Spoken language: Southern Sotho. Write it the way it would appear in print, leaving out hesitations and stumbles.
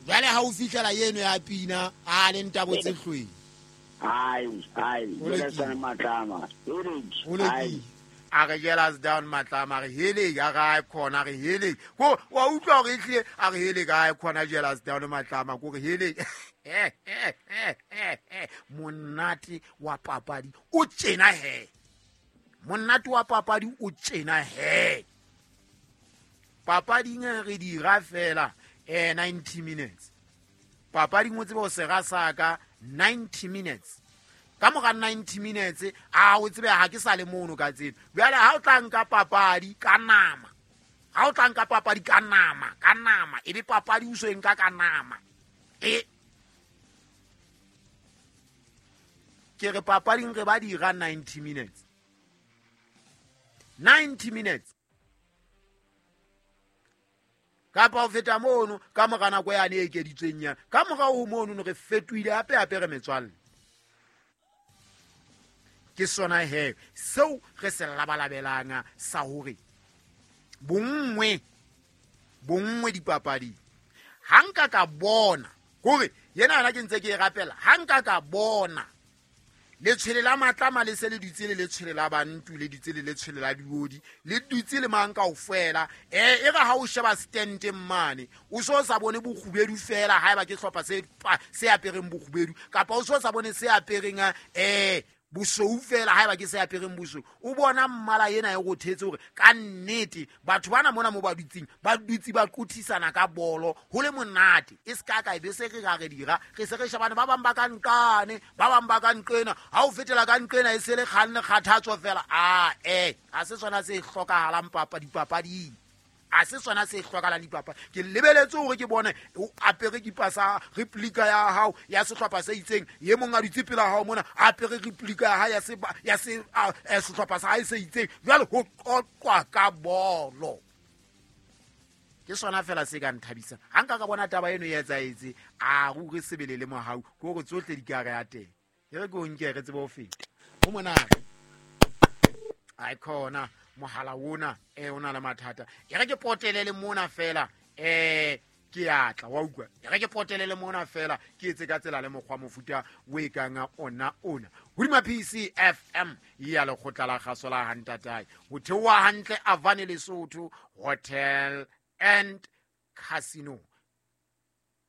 Jwale ha o fihlela eno ya pina a le ntabo tse hlweng. Ai, ai, matlama. A re jealous down matlama, a re hele a re a khona, a re hele. Ko wa utlwa hore ehlile a re hele ka khona jealous down matlama, ko re hele. Monate wa papadi o tjena he. Monate wa papadi o tjena he. Papading re dira fela 90 minutes. Papading o tsebe o sera sa ka 90 minutes. Ka mora 90 minutes a o tsebe ha ke sa le mono ka tseno. Jwale ha o tla nka papadi ka nama, ha o tla nka papadi ka nama, ka nama, e be papadi o so e nka ka nama. E ke re papading re ba dira 90 minutes. 90 minutes. Kapa ho feta mono ka mora nako yane e ekeditsweng yana. Ka mora ho mono re fetohile hape hape re metswalle. Ke sona he seo re se labalabelang sa hore bonngwe, bonngwe dipapading. Ha nka ka bona hore yena yona ke ntse ke e rapela, ha nka ka bona letshwele la matlama le se le dutse le letshwele la bantu, le dutse le letshwele la diodi, le dutse le mang kaofela. E re ha o sheba stenteng mane, o so sa bone bokgubedu fela haeba ke hlopha se apereng bokgubedu, kapa o so sa bone se apereng bosweu fela haeba ke se apereng bosweu. O bona mmala ena e rothetse hore ka nnete batho bana mona mo ba dutseng, ba dutse ba qothisana ka bolo ho le monate. E se ka ka e be se re ra re dira, re se re shebane, ba bang ba ka nqane, ba bang ba ka nqena. Ha o fetela ka nqena e se le kgang le kgathatso fela. A ha se sona se hlokahalang dipapading. A se sona se hlokahalang dipapadi. Ke lebeletse hore ke bone o apere kipa sa replica ya hao ya sehlopha se itseng, e mong a dutse pela hao mona a apere replica ya hae ya sehlopha sa hae se itseng. Jwale ho qoqwa ka bolo. Ke sona fela se ka nthabisang. Ha nka ka bona taba eno e etsahetse, a ruri sebele le mohau, ke hore tsohle di ka re ya teng. E re ke o nke re tsebe ho feta. Ho monate. Ai khona mohala ona o na le mathata. E re ke potele le mona fela, ke atla wa utlwa. E re ke potele le mona fela, ke etse ka tsela le mokgwa mofuta o e kang ona ona. Hodima PCFM ya lekgotla la kgaso la Hantatae. Ho theoha hantle Avane Lesotho Hotel and Casino.